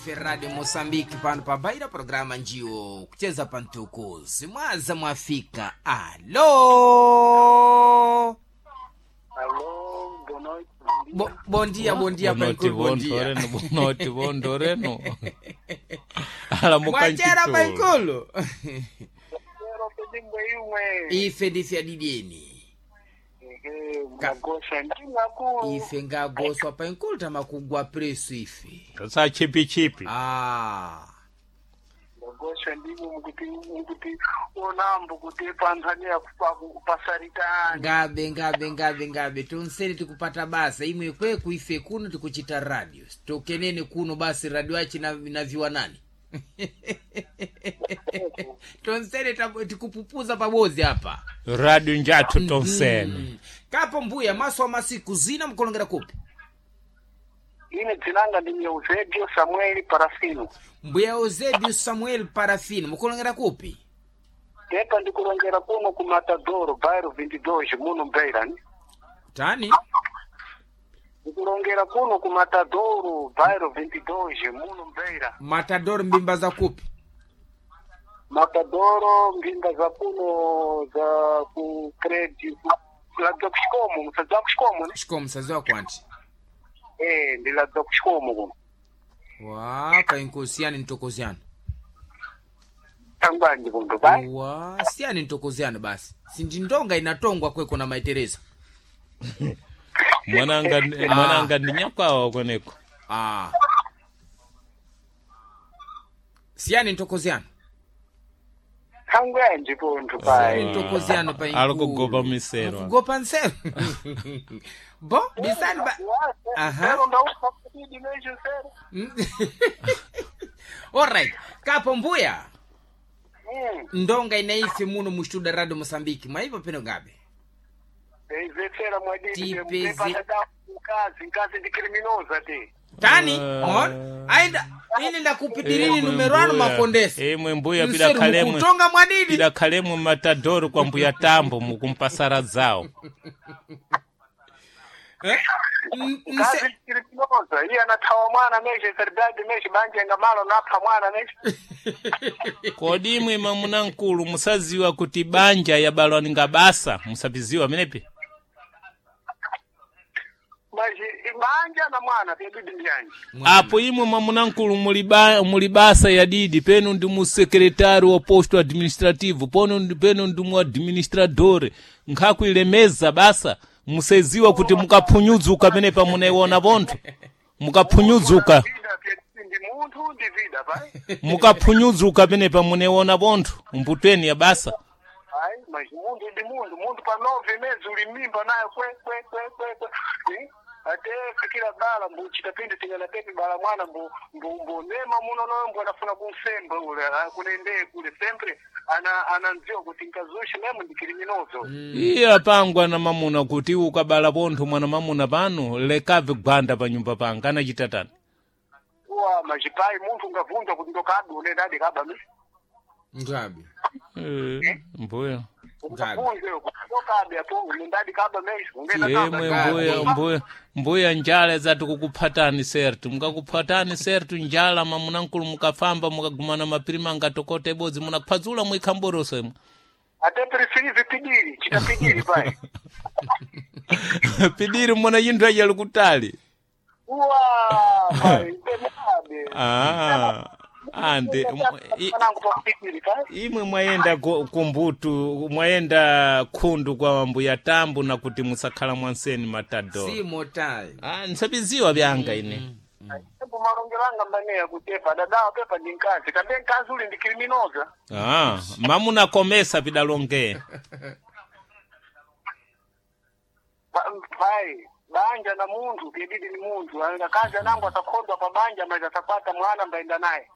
Ndife Radio Mosambiki pano pabaira programa njiwo kucheza pantukuzi mwaza mwafika. Alo. Alô, boa noite. Bo, bom dia, bom dia, Bonoti Paikulu, bom dia. bondoreno, bonoti bondoreno. Alamuka Mwachera nchitulu. Paikulu. Quero pedir imwe. Ife ndife adideni. Ehe, magosha ndingaku. Ife ngagoswa Paikulu tamakugwa preso ife. Sa chipi chipi. Ah. Magosha ndimo mukuti mukuti onambo kuti panzania kupasaritani. Ngabe ngabe ngabe ngabe tonsene tikupata basa imwe kweku ife kuno tikuchita radio tokenene kuno basi radio achi na, na viwanani tonsene tikupupuza pabozi apa. Radio njathu tonsene. Kapo mbuya maso wa masiku zina mkulongera kupi? Ine dzinanga ndi Eusébio Samuel Parafino. Mbuya Eusébio Samuel Parafino mukulongera kupi? Tepa ndikulongera kuno ku Matadoro, bairro 22, muno Beira. Ni? Tani Ndikulongera kuno ku Matadoro, bairro 22, muno Beira. Matador mbimba za kupi? Matadoro mbimba za kuno za ku credit ladza kuxikomo musadza kuxikomo ne? Shikomo msazi wako anti Eh, ndi ladza kuxikomo kuno. wa painkusiani ntokoziano Tangwanji kuno bai. wa siyani ntokoziano basi sindindonga inatongwa kweko na maitereza. Mwananga mwananga ndinyakwawa kweneko. Ah. Siyani ntokoziano. Tangwanji kuno bai. Ntokoziano pa Ali kugopa misero. Kugopa nsero. Bo, bisani ba. Aha. Sero ndaupa kuti mesho sero. Alright. Kapo mbuya. Mm. Ndonga inaife muno mustuda Radio Mosambiki. Mwaipo peno gabe. Eizetsera mwadini Tipeze. mtepata mkazi mkazi ndi criminosa te. Tani, Eh. on. Aenda ine ndakupitirini Imwe numero anu mbuya. makondesa. Imwe mbuya Mseru pidakhalemwe. mukutonga mwadidi. Pidakhalemwe matadoro kwa mbuya tambo mukumpasara zawo. Eh? Mkazi ndi criminosa iye anathawa mwana mesho serbadi mesho banje ngamalo napha mwana mesho. Kodi imwe mamuna nkulu musaziwa kuti banja yabalwa ngabasa musapiziwa menepi? Mas banja na mwana pyadidi ndyanji. Apo imwe mwamuna nkulu muli basa ya didi penu ndi mu sekretari wa posto administrativo pono penu ndi mu administrador nkhakuilemeza basa museziwa kuti mukaphunyudzuka penepa munaiona pontho mukaphunyudzuka Vida pyadidi ndi munthu ndi vida pai. mukaphunyudzuka penepa munaiona pontho mbutweni ya basa. Ai, mas munthu ndi munthu, munthu pa 9 meses uli mimba nayo kwe kwe kwe kwe kwe. Eh? Ate fikira bala mbu chitapindi tingana pepi bala mwana mbu mbu mbu nema muno no mbu anafuna kumsemba ule kunende kule sempre ana ananziwa kuti nkazushi memu ndi kiriminozo. Iye apangwa na mamuna kuti iwe ukabala pontho mwana mamuna pano lekabve gwanda pa nyumba panga anachita tani. Uwa majipai munthu ungavunja kuti ndokadu unenda adi kaba mi. Ngabe. Eh, mbuya. Ungavunje kuti ndokabe apo unenda adi kaba mesho ungenda kaba. Emwe mbuya mbuya mbuya njala zati kukuphatani sertu mukakuphatani sertu njala mamuna nkulu mukafamba mukagumana mapirima ngatokote bodzi munakhwadzula mwikhamboroso imwe. Ate preferive pidiri, chitapidiri pai. Pidiri muna yinthu ajali kutali. Uwa pai, temabe. Ah, ande Mwanangu pa pidiri pai. imwe mwayenda kumbutu mwayenda khundu kwa mbuya tambo na kuti musakhala mwanseni matadoro. Si motai. Ah, nsabiziwa byanga ine. Tembo malongelanga mbaneya kutepa dadawa pepa ndi mkazi kambe mkazi uli ndi kiriminoza. Ah, mamuna komesa pidalonge. Pai banja na munthu pyedidi ni munthu akazi anangu atakhodwa pa banja mazi atakwata mwana mbaenda naye.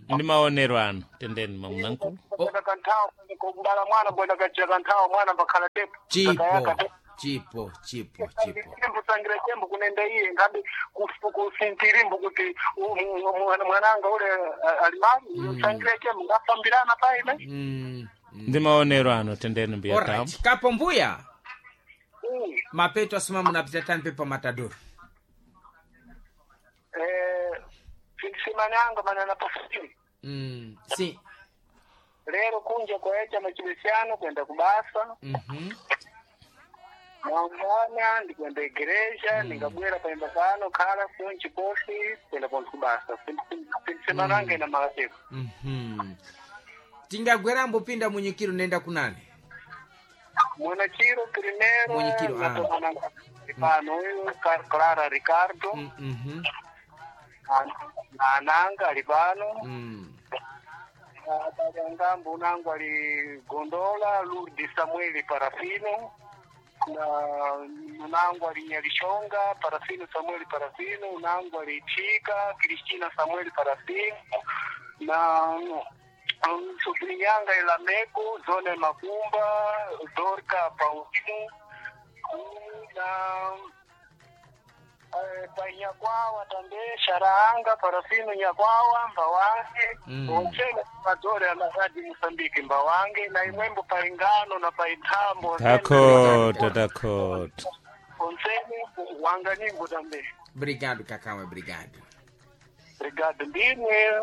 Ndi maonero ano tendeni mamuna nkulu. Kwenda kanthawo kumbala mwana mbwenda kachira kanthawo mwana mbakhala tepo. Chipo. Chipo, chipo, chipo. Tembo sangira tembo kunenda iye ngabe kusintirimbo kuti mwananga ule alimali sangira tembo ngafambirana pai ne. Mm. Ndi maonero ano tendeni mbuya tambo. Alright. Kapo mbuya. Mm. Mapeto asoma munapita tani pepa matador. Eh, findi semana. mananga manana pafini. Sim. Lero kunja kwaecha machibesiano kwenda kubasa. Mangwana ndikwenda igreja ningabwera paimba pano khala kunchi kosi kwenda ponthu kubasa. Semana ina malateko. Tingagwerambo pinda munyikiro nenda kunani? Mwanachiro primeiro Mwenyekiro, ah. natomana pano uyu Clara Ricardo na ananga ali pano. Ngambo unangu ali Gondola Lourdes Samueli Parafino na unangu ali Nyalishonga Parafino Samueli Parafino, unangu ali Chika Cristina Samueli Parafino na Sobrinyanga Elameko Zone Makumba Dorka Paulino na painyakwawa tambe sharaanga parafino nyakwawa mbawange onsene madore anaradi Mosambiki mbawange na imwembo paingano na paithambo Takota, takota. onsene wanga nyimbo tambe. Obrigado, Cacau, obrigado. Obrigado ndimwe.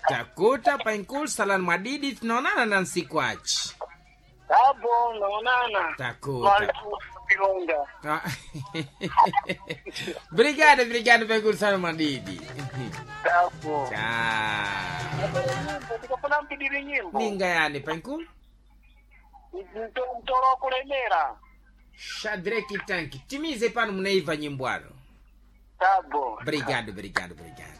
Takuta painkul salan mwadidi tunaonana na nsiku achi. Tabo naonana. Takuta. Pilonga. Ah. Obrigado, obrigado, painkul salan mwadidi. Tabo. Tchau. Tikafuna mpidiri nyimbo. Ninga yani painkul? Mtoro wa kulemera. Shadrack Tanki. Timize pano munaiva nyimbo ano. Tabo. Obrigado, obrigado, obrigado.